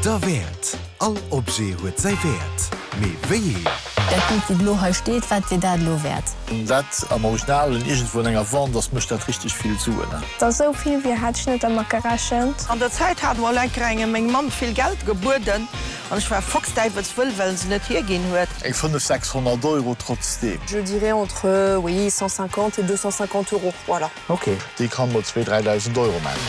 Derwäert! All Objet huet säi Wäert, mee wéi een? Dat Bild wat elo hei steet, wat wier dat elo wäert? Dat am Original iergendwou an enger Vente ass, mécht dat richteg vill Suen. Dass esou vill wier, hat ech net dermat gerechent. An der Zäit hat mol enker engem meng Mamm vill Geld gebueden an ech war foxdäiwelswëll, well en se net hierginn huet. Eng 5, 600 Euro trotzdeem. Je dirais entre, oui, 150 et 250 euros, voilà. Ok, déi kann mol zwee, 3.000 Euro man.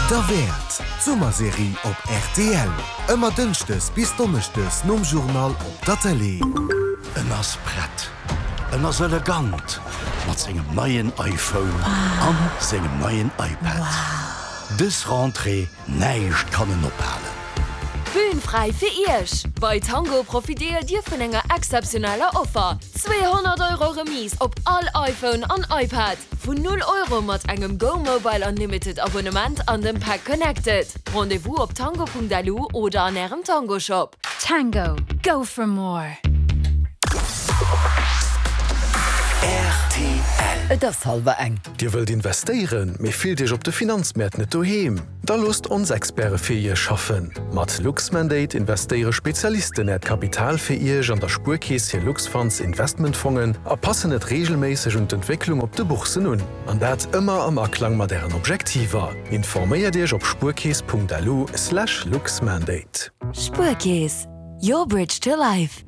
Derwäert, d'Summerserie op rtl. Ëmmer Dënschdes bis Donneschdes nom Journal op der Tëlee. En ass prett, en ass elegant mat sengem neien iPhone an sengem neien iPad. Dës Rentrée, näischt kann en ophalen. Bühn fräi fir Iech! Bei Tango profitéiert Dir vun enger exzeptioneller Offer, 200 Euro Remise op all iPhone an iPad vun 0 Euro mat engem Go Mobile Unlimited Abonnement an dem Pack Connected. Rendez-vous op tango.lu oder an Ärem Tango Shop. Tango, go for more! Rtl. Et ass hallwer eng. Dir wëllt investéieren, mee fillt Iech op de Finanzmäert net doheem? Da loosst ons Experte fir Iech schaffen! Mat Luxmandate investéiere Spezialisten Äert Kapital fir Iech an der Spuerkeess hir Luxfunds Investmentfongen a passen et reegelméisseg un d'Entwécklung op de Boursen un. An dat ëmmer am Aklang mat Ären Objektiver. Informéiert Iech op spuerkeess.lu/luxmandate. Spuerkeess, your bridge to life.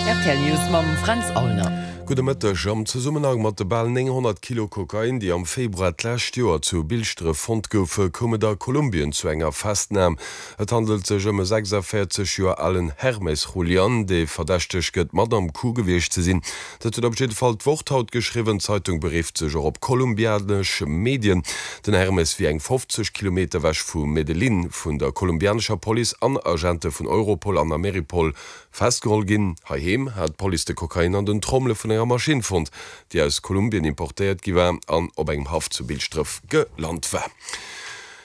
Rtl News mam Fränz Aulner. Gudde Mëtteg. Am Zesummenhang mat de bal 900 Kilo Kokain, déi am Februar d'lescht Joer zu Bilschdref fonnt goufe, koum et a Kolumbien zu enger Festnam. Et handelt sech ëm e 46 Joer alen Hermes Julian, dee verdächtegt gëtt, mat am Coup gewiescht ze sinn. Dat huet op jidde Fall d'Wort haut geschriwwen. D'Zeitung berifft sech och op kolumbianesch Medien. Den Hermes wier eng 50 Kilometer ewech vu Medellín vun der kolumbianescher Police an Agente vun Europol an Ameripol festgeholl ginn. Heiheem hat d'Police de Kokain an den Trommele vun enger Maschinn fonnt, déi aus Kolumbien importéiert gi war an op engem Haff zu Bilschdref gelant war.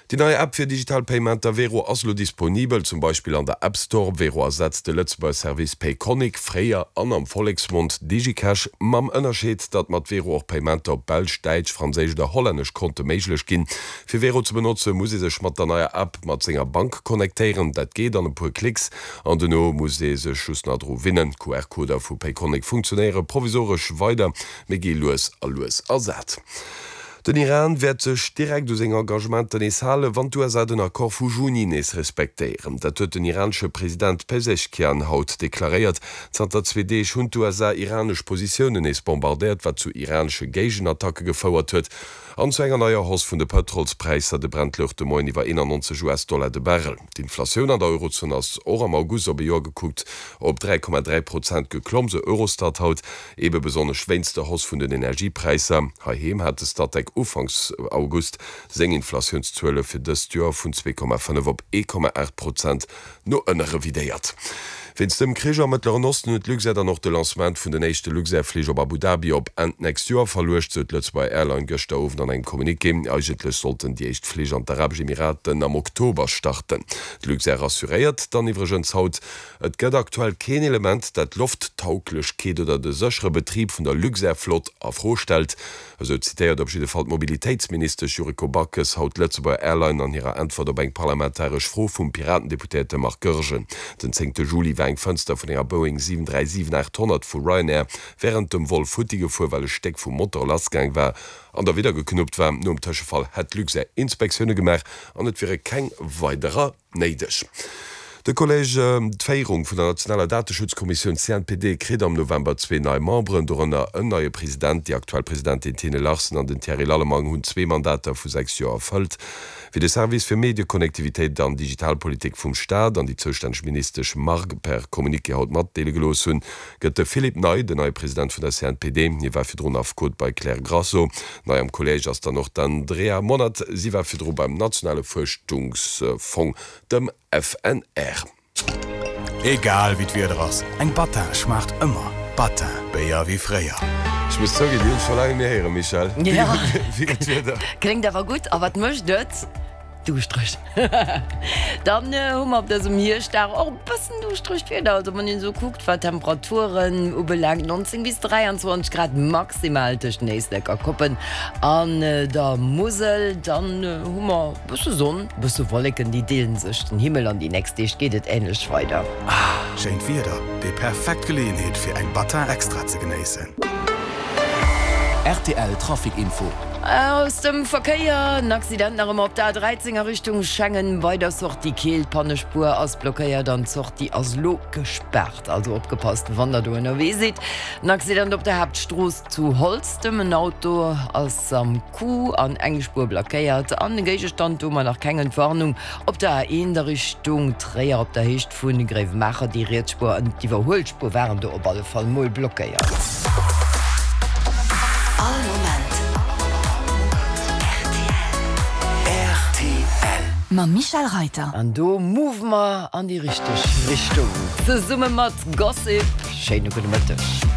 Déi nei App fir digital Paymenter Wero ass elo disponibel, zum Beispill an der App Store. Wero ersetzt de Lëtzebuerger Service Payconiq, fréier an am Volleksmond Digicash, mam Ënnerscheed, datt mat Wero och Paymenter op belsch, däitsch, franséisch oder hollännesch Konte méiglech ginn. Fir Wero ze benotze muss ee sech mat der neier App mat senger Bank connectéieren. Dat geet an e puer Klicks an dono muss ee sech just nach dru winnen. D'QR-Coder vu Payconiq funktionéiere provisoresch weider, mee gi lues a lues ersat. Den Iran wäert sech direkt u seng Engagementer nees halen, wann d'USA den Accord vu Juni nees respektéieren. Dat huet den iranesche President Pezeshkian haut deklaréiert. Zanter zwee Deeg hunn d'USA iranesch Positiounen nees bombardéiert, wat zu iranesche Géigenattacke gefouert huet an zu enger neier Hausse vun de Pëtrolspräisser. De Brent louch de Moien iwwer 91 US-Dollar de Barrel. D'Inflatioun an der Eurozon ass och am August op e Joer gekuckt op 3,3 Prozent geklomm, sou Eurostat haut. Ebe besonnesch wéinst der Hausse vun den Energiepräisser. Heiheem hat de Statec ufanks August seng Inflatiounszuele fir dëst Joer vun 2,5 op 1,8 Prozent no ënne revidéiert. Wéinst dem Krich am Mëttleren Osten huet d'Luxair dann och de Lancement vun den éischte Luxair-Flich op Abu Dhabi op Enn d'nächst Joer verluecht, sou d'Lëtzebuerger Airline gëschter Owend an engem Communiqué. Eigentlech sollten déi éischt Flich an d'Arabesch Emiraten am Oktober starten. D'Luxair rassuréiert dann iwwregens haut, Et gëtt aktuell keen Element, dat d'Lofttauglechkeet oder de séchere Betrib vun der Luxair-Flott a Fro stellt. Esou zitéiert op jidde Fall d'Mobilitéitsministesch Yuriko Backes haut d'Lëtzebuerger Airline an hirer Äntwert op eng parlamentaresch Fro vum Piraten-Deputéierte Marc Goergen. Den zéngte Juli war eng Fënster vun enger Boeing 737-800 vu Ryanair wärend dem Vol futti gefuer, well e Stéck vum Motor lassgaang war an da widder geknuppt war. Nom Tëschefall hätt d'Luxair Inspektioune gemaach an et wiere keng weiderer Néideg. De Collège, d'Féierung vun der nationaler Dateschutzkommissioun CNPD, kritt am November zwee nei Memberen, dorënner en neie President. Déi aktuell Presidentin Tine Larsen an den Thierry Lallemang hunn zwee Mandater vu 6 Joer erfëllt. Wéi de Service fir Medieconnectivitéit an Digitalpolitik vum Staat an déi zoustänneg Ministesch Margue per Communiqué haut matdeele gelooss hunn, gëtt de Philippe Ney den neie President vun der CNPD. Hie war virdrun Affekot bei Klère Grasso. Nei am Kolléisch ass dann och d'Andrea Monert. Si war virdru beim nationale Fuerschungsfong, dem FNR. Egal wéi d'Wieder ass, eng Battin schmaacht ëmmer. Battin, Béier wéi fréier. Ech muss zouginn, déi hunn ech scho laang net méi héieren, Michèle. Ja, Wéi gëtt d'Wieder? kléngt awer gutt. A wat mécht et? Duuschtereg. Dann hu mer op dësem Hierschtdag och e bëssen duuschteregt Wieder. Also wann een esou kuckt, wat d'Temperaturen ubelaangt, 19 bis 23 Grad maximal tëscht den Éislek a Koppen an der Musel. Dann hu mer e bësse Sonn, e bësse Wolleken, déi deelen sech den Himmel an déi nächst Deeg geet et änlech weider. Schéint Wieder, déi perfekt Geleeënheet fir eng Battin Extra ze genéissen. Rtl Trafic Info. Aus dem Verkéier, En Accident nach ëmmer op der A13 a Richtung Schengen bei der Sortie Keel. D'Pannespuer ass blockéiert an d'Sortie ass elo gespaart. Also opgepasst wann der do ënnerwee sidd. En Accident op der Haaptstrooss zu Holztem. En Auto ass am Coup an eng Spuer blackéiert an e Géigestand. Do hu mer nach keng Entwarnung. Op der A1 a Richtung Tréier op der Héicht vu Gréiwemaacher, déi riets Spuer an d'Iwwerhuelspuer waren do op alle Fall mol blockéiert. All Moment rtl. Mam Michel Reiter. An do move mer an déi richteg Richtung zesumme mat Gossip. Schéine gudde Mëtteg.